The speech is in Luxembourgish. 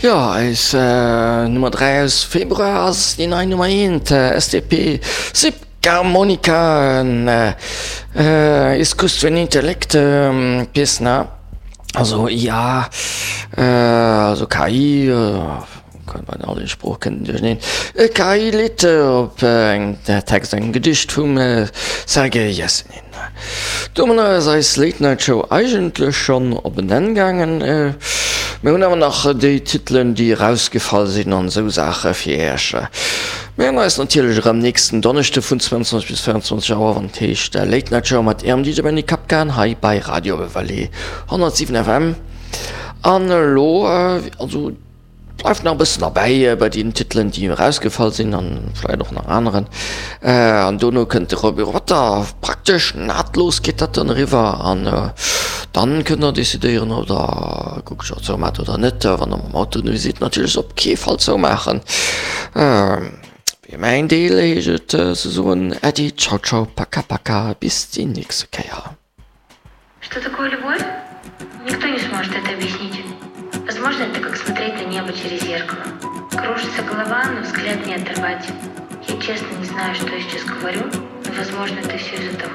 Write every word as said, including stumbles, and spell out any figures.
Jo, eis Nummer dräi aus Februar ass déi nei Nummer eent, S T P Sibgarmonika, Искусственный Intellekt песня, also I A, also K I, bei all den Sprooche kënnt duercherneen, e K I-Lidd op engem Text, engem Gedicht vum Sergei Jessenin. Domadder ass eis Late Night Show eigentlech schonn op en Enn gaangen. Mir hunn awer nach déi Titelen, déi erausgefall sinn an esou Saache fir Iech. Mir hunn eis natierlech erëm nächsten Donneschde vun zwouanzwanzeg bis véierenzwanzeg Auer, wann et heescht Late Night Show mat Ärem D J Benny Kapkan hei bei Radio Vallée honnertsiwen F M. An elo, also bleift nach e bëssen derbäi bei den Titelen, déi erausgefall sinn an vläicht och nach aneren. An dono kënnt de Roby Rotter, praktesch nahtlos geet dat dann eriwwer an dann kënnt der decidéieren, ob der Guckschau zoumaacht oder net. Wann der mam Auto ënnerwee sidd, natierlech op kee Fall zoumaachen. Fir mäin Deel heescht et ze soen Äddi, ciao ciao, paka paka, bis déi nächste Kéier. Что такое любовь? Никто не сможет это объяснить. Возможно, это как смотреть на небо через зеркало. Кружится голова, но взгляд не оторвать. Я честно не знаю, что я сейчас говорю, но, возможно, это все из-за того,